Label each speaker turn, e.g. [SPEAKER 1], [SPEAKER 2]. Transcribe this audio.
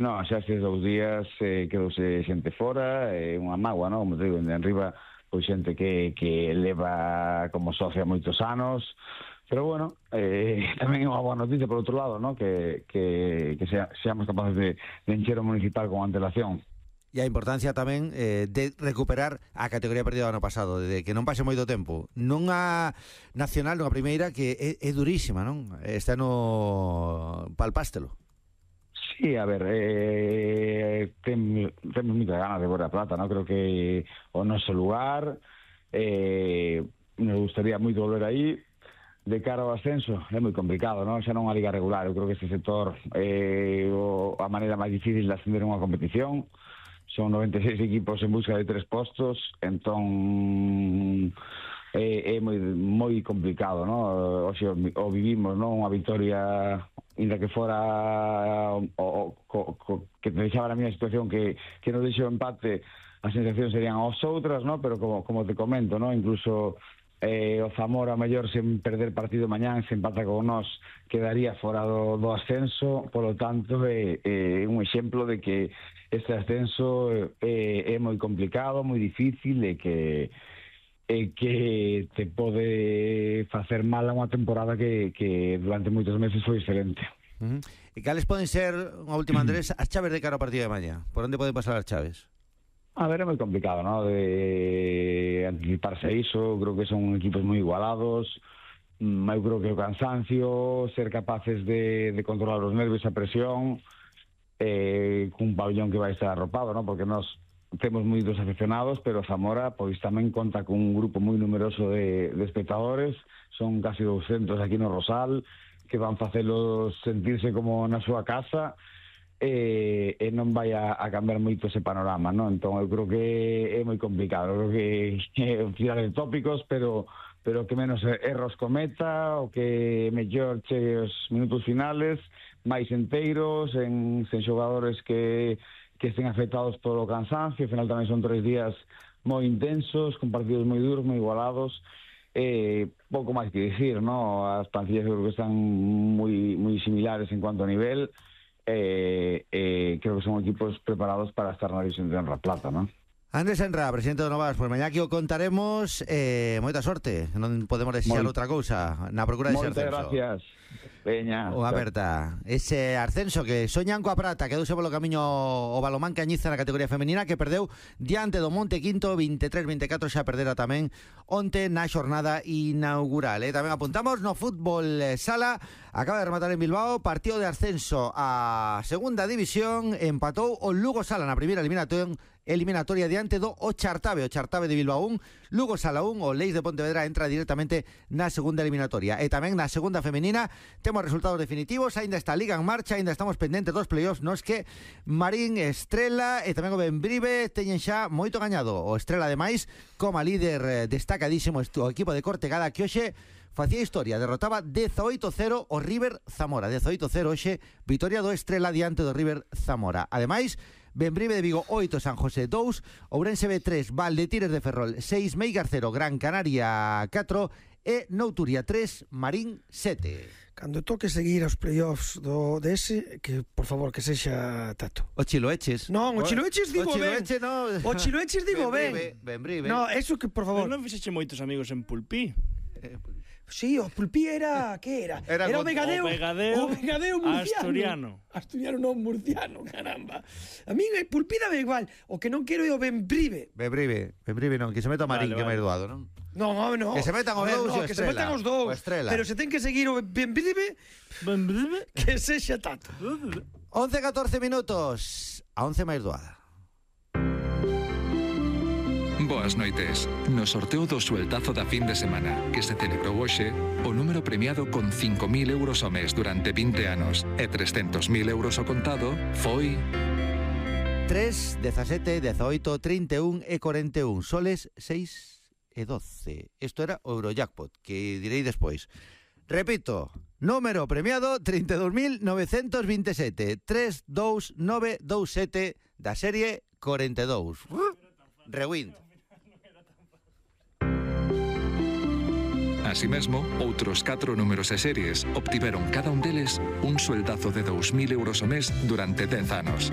[SPEAKER 1] Non, xa estes 2 días quedouse xente fora, unha mágoa, non? Como te digo, de arriba, pois xente que leva como socia moitos anos, pero bueno, tamén é unha boa noticia por outro lado, non? Que seamos capaces de encher o municipal con antelación.
[SPEAKER 2] E a importancia tamén de recuperar a categoría perdida do ano pasado, de que non pase moito tempo. Nunha nacional, nunha primeira que é durísima, non? Este ano palpástelo.
[SPEAKER 1] Sí, a ver, temos moita ganas de ver a Plata, non? Creo que o noso lugar, nos gustaría moito volver aí. De cara ao ascenso é moi complicado, non? Xa non a liga regular, eu creo que este sector é a maneira máis difícil de ascender unha competición. Son 96 equipos en busca de 3 postos, entón é moi complicado, non? Oxe, o vivimos, non? Unha victoria, inda que fora que te deixaba na miña situación que nos deixou empate, as sensacións serían as outras, non? Pero como te comento, non? Incluso o Zamora mellor sen perder partido mañán, se empata con nós, quedaría fora do ascenso. Polo tanto é un exemplo de que este ascenso é moi complicado, moi difícil e que te pode facer mal a unha temporada que durante moitos meses foi excelente.
[SPEAKER 2] E cales poden ser, unha última, Andrés, as chaves de cara ao partido de mañá? Por onde poden pasar as chaves?
[SPEAKER 1] A ver, é moi complicado, ¿no? De anticiparse a iso. Creo que son equipos moi igualados. Eu creo que o cansancio, ser capaces de controlar os nervios, a presión, cun pabellón que vai estar arropado, ¿no? Porque nós temos moitos aficionados, pero Zamora pois tamén conta con un grupo moi numeroso de espectadores. Son casi 200 aquí no Rosal, que van facelos sentirse como na súa casa, e non vai a cambiar moito ese panorama, non? Entón eu creo que é moi complicado. Eu creo que tirar de tópicos, pero que menos erros cometa, o que mellor chegue os minutos finales máis enteiros, sen xogadores que estén afectados polo cansancio. Ao final tamén son 3 días moi intensos, con partidos moi duros, moi igualados. Pouco máis que dicir, non? As plantillas eu creo que están moi similares en cuanto a nivel. Creo que son equipos preparados para estar na división de honra plata, non?
[SPEAKER 2] Andrés Enra, presidente do Novas, pois mañá que o contaremos. Moita sorte, non podemos desexar outra cousa na procura de ese ascenso.
[SPEAKER 1] Moitas gracias. Veña.
[SPEAKER 2] Unha aperta. Ese ascenso que soñan coa prata, quedouse polo camiño o Balomán Cañiza na categoría femenina, que perdeu diante do Monte Quinto 23-24, xa perdera tamén onte na xornada inaugural. Tamén apuntamos no fútbol sala, acaba de rematar en Bilbao, partido de ascenso a segunda división, empatou o Lugo Sala na primeira eliminatoria diante do o Chartabe de Bilbao 1, Lugo Sala 1, o Leis de Pontevedra entra directamente na segunda eliminatoria. E tamén na segunda femenina temos resultados definitivos, aínda está a Liga en marcha, aínda estamos pendentes dos playoffs, nos que Marín, Estrela e tamén o Benbrive teñen xa moito gañado. O Estrela, ademais, como líder destacadísimo o equipo de Cortegada, que hoxe facía historia, derrotaba 18-0 o River Zamora. 18-0 hoxe, victoria do Estrela diante do River Zamora. Ademais, Benbrive de Vigo 8, San José 2, Ourense B 3, Valdetires de Ferrol 6, Meigar 0, Gran Canaria 4 e Nouturia 3, Marín 7.
[SPEAKER 3] Cando toque seguir aos playoffs do dese, que por favor que sexa Tato.
[SPEAKER 2] O Chiloeches.
[SPEAKER 3] Non, o Chiloeches digo ben. O Chiloeches digo ben.
[SPEAKER 2] Benbrive.
[SPEAKER 3] No, eso que por favor.
[SPEAKER 4] Pero non fixeche moitos amigos en Pulpí.
[SPEAKER 3] Sí, o Pulpí era... que era? Era o Vegadeo. O Vegadeo murciano. Asturiano non murciano, caramba. A min Pulpí dame igual. O que non quero é o Benbrive.
[SPEAKER 2] Benbrive non, que se meta o Marín, que é máis doado, non?
[SPEAKER 3] No.
[SPEAKER 2] Que se metan os dous e o Estrela.
[SPEAKER 3] Que se metan os dous. Pero se ten que seguir o Benbrive, que sexa Tato.
[SPEAKER 2] 11-14 minutos. A 11 máis doada.
[SPEAKER 5] Boas noites. No sorteo do sueltazo da fin de semana que se celebrou hoxe, o número premiado con 5.000 euros ao mes durante 20 anos e 300.000 euros ao contado foi
[SPEAKER 2] 3, 17, 18, 31 e 41, soles 6 e 12. Isto era o Eurojackpot, que direi despois. Repito, número premiado 32.927, 32927 da serie 42. Rewind.
[SPEAKER 5] Así mesmo, outros 4 números e series obtiveron cada un deles un sueldazo de 2.000 euros ao mes durante 10 anos.